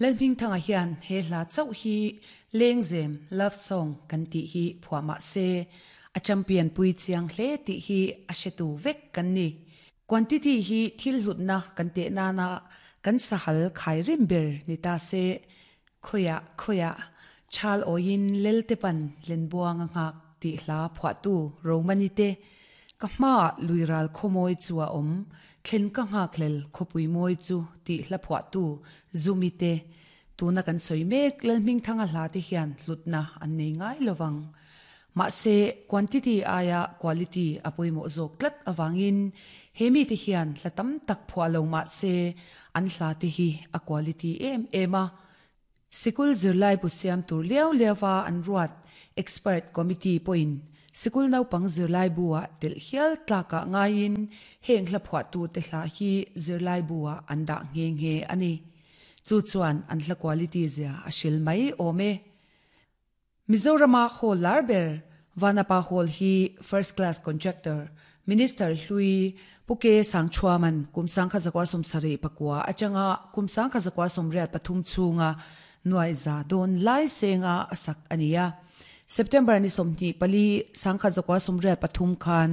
Lalhmingthanga hian he hla chauh hi Lengzem, Love Song, kan tih hi phuah mah se, a champion pui chiang hle tih hi a hretu vek kan ni. Quantity hi thil hlutna kan teh nana kan sahal khai rim ber ni ta se, Khawiah khawiah chal awiin lelte pan Lenbuang a nghak tih hla phuahtu Romani te, Ka hmaah luiral khawmawi chu a awm, thlen ka nghakhlel khawpui mawi chu tih hla phuahtu Zumi te, tuna kan sawi mek Lalhmingthanga hla te hian hlutna an nei ngai lovang. Mahse, quantity aia quality a pawimawh zawk tlat avangin he mite hian hla tam tak phuah lo mah se an hla te hi a quality em em a. Sikul zirlai bu siam tur liau liauva an ruat expert committee pawhin sikul naupang zirlai bu-ah telh hial tlakah ngaiin heng hla phuahtute hla hi zirlai bu-ah an dah nghe nghe a ni. Chu chuan an hla quality zia a hril mai awm e. Mizorama hall lar ber Vanapa Hall hi First Class Contractor, Minister hlui Pu Ke Sangchhuaman kum 1979 atanga kum 1983 chhunga nuai za dawn lai senga a sak a ni a. September ni 24, 1983 khan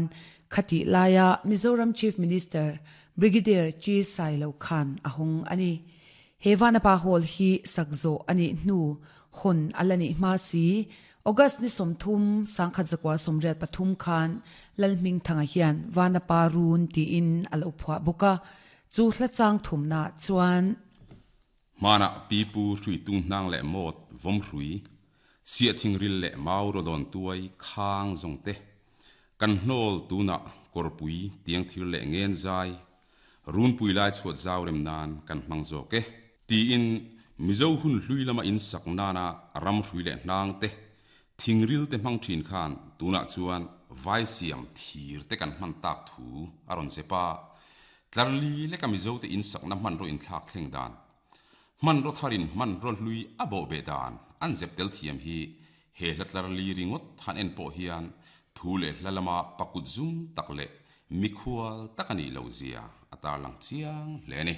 khatih laia Mizoram Chief Minister Brigadier Chi Sailo khan a hawng a ni. He Vanapa Hall hi sak zawh a nih hnu hawn a la nih hma si. August ni 30, 1983 khan Lalhmingthanga hian Vanapa Run tiin a lo phuah bawk a, chu hla chang thumna chuan. Hmanah pipu hrui tung hnang leh mawt vawm hrui, siahthing ril leh mau rawdawn tuai khang zawng te, kan hnawl tunah kawrpui tiang thir leh ngen zai Runpui lai chhuat zau rem nan kan hmang zawk e. Tiin Mizo hun hlui lama in sak nana ram hrui leh hnang te, thingril te hmang thin khan tunah chuan vai siam thir te kan hman tak thu a rawn zep a. Tlarli leka Mizo te in sakna hmanraw inthlak thleng dan, hmanraw tharin hmanraw hlui a bawh beh dan an zep tel thiam hi he hla tlarli ringawt han en pawh hian thu leh hla lama pakut zum tak leh Mikhual tak a nih loh zia a tarlang chiang hle a ni.